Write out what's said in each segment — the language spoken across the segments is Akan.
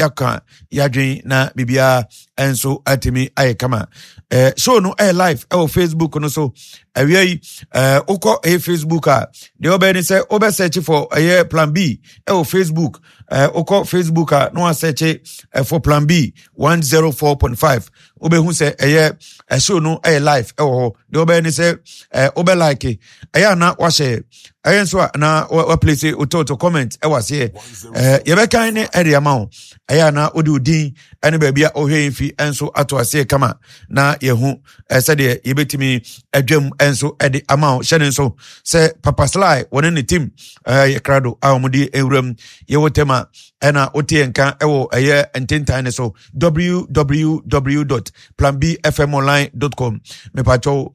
yɛaka yɛadwen na biribiara nso atumi ayɛ kama. Show no ɛyɛ live ɛwɔ Facebook no so. Awia yi wokɔ ɛyɛ Facebook a, deɛ wobɛyɛ ne sɛ wobɛ search for ɛyɛ Plan B ɛwɔ Facebook. Wokɔ Facebook a na wasɛkye for Plan B 104.5, wobɛhu sɛ ɛyɛ show no ɛyɛ live ɛwɔ hɔ. Deɛ wobɛyɛ ne sɛ wobɛ like ɛyɛ ana wahyɛ ɛyɛ nso a na waplace wotɔtɔ comment ɛwɔ aseɛ. Yɛbɛkan ne ɛde ama wo. Ɛyɛ ana wode wo din ɛne baabi a wohwɛ yɛn fi nso ato aseɛ kama na yɛhu sɛdeɛ yɛbɛtumi adwam nso ɛde ama wo. Hyɛ ne nso sɛ Papa Sly wɔne ne team yɛ krado a wɔde nwuram yɛwɔ tɛm a ɛna wote yɛn nka ɛwɔ ɛyɛ ntentan ne so, www.planbfmonline.com. Mepatwɛw,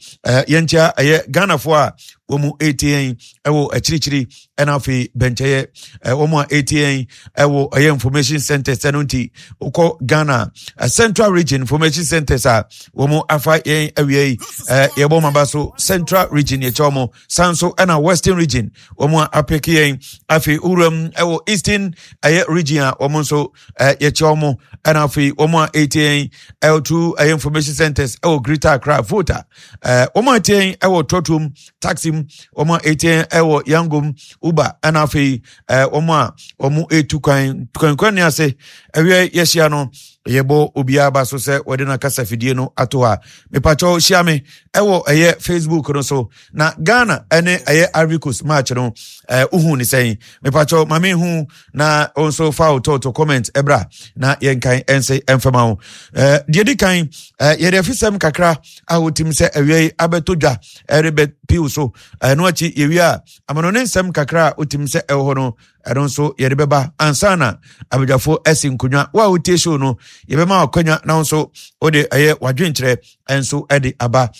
yɛnkyia ɛyɛ Ghanafoɔ a wɔn mu ɛtie yɛn ɛwɔ akyirikyiri, ɛna afei bɛnkyɛyɛ wɔn a ɛtie yɛn ɛwɔ ɛyɛ information centers. Ɛno nti wokɔ Ghana Central Region information centers a wɔn afa yɛn awia yi, yɛbɔ wɔn aba so. Central Region yɛkyɛ wɔn san so, ɛna Western Region wɔn a apeke yɛn. Afei wuram ɛwɔ Eastern ɛyɛ Region a wɔn nso yɛkyɛ wɔn, ɛna afei wɔn a ɛtie yɛn ɛwɔ two ɛyɛ information centers ɛwɔ Greater Accra, Volta, wɔn a ɛtie yɛn ɛwɔ trɔtrom, taxi mu, wɔn a ɛtie yɛn ɛwɔ Yangom, Uber, ɛna afei wɔn a wɔn ɛtu kwan kwankwan ne ase. Ɛwiɛ yɛhyia no, yɛbɔ obiara ba so sɛ wɔde no akasa fidie no ato hɔ a, mepakyɛw hyia me ɛwɔ ɛyɛ Facebook no so. Na Ghana ɛne ɛyɛ Ivory Coast match no, wohu ne sɛn? Mepakyɛw ma mehu na wo nso fa wo tɔɔtɔ comment ɛbra na yɛnkan ɛnse ɛmfama wo. Deɛ di kan, yɛde afisɛm kakra a wotim sɛ awia yi abɛtɔ dwa ɛrebɛ piw so. Ɛno akyi yɛwie a, amano ne nsɛm kakra a wotim sɛ ɛwɔ hɔ no, ɛno nso yɛde bɛba ansa na abadwafo asi nkonnwa. Wo a wotie show no, yɛbɛma wakwanya na wo nso wode ɛyɛ wadwenkyerɛ nso ɛde aba.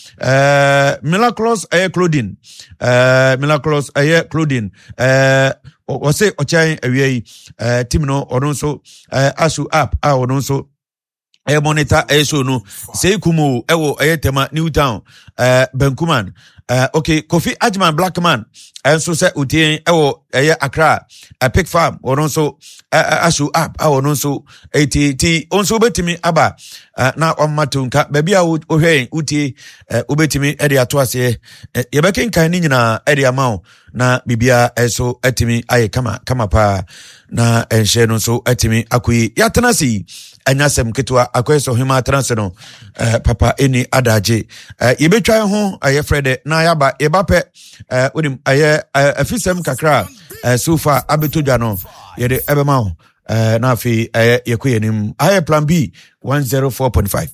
Miraculous ɛyɛ clothing, Miraculous ɛyɛ clothing, ɔse ɔkyɛn awia yi team no, ɔno nso aso app a ɔno nso ɛyɛ monitor ɛyɛ show no sɛ kumu ɛwɔ ɛyɛ Tema New Town, Bankuman. Okay, Kofi Agyeman Blackman ɛnso sɛ otie ɛwɔ ɛyɛ Accra, Epic Farm, ɔno nso aso app a ɔno nso ɛti ti nso wobɛtumi aba na wama to nka baabi a wohwɛ yɛn wotie, wobɛtumi ɛde ato aseɛ, yɛbɛkenkan ne nyinaa ɛde ama wo na biribiara nso atumi ayɛ kama kama paa na nhyɛ no nso atumi akɔ yi. Yɛatena ase yi ɛnyɛ asɛm ketewa, akɔyɛ sɛ ɔhema atena ase no, papa ɛni adagye. Yɛbɛtwa ho ɛyɛ frɛ dɛ na yɛaba. Yɛba pɛ, wonim ɛyɛ afisɛm kakra a so far abɛtɔ dwa no, yɛde ɛbɛma wo, na afei ɛyɛ yɛkɔ yɛnim. Ayɛ Plan B 104.5.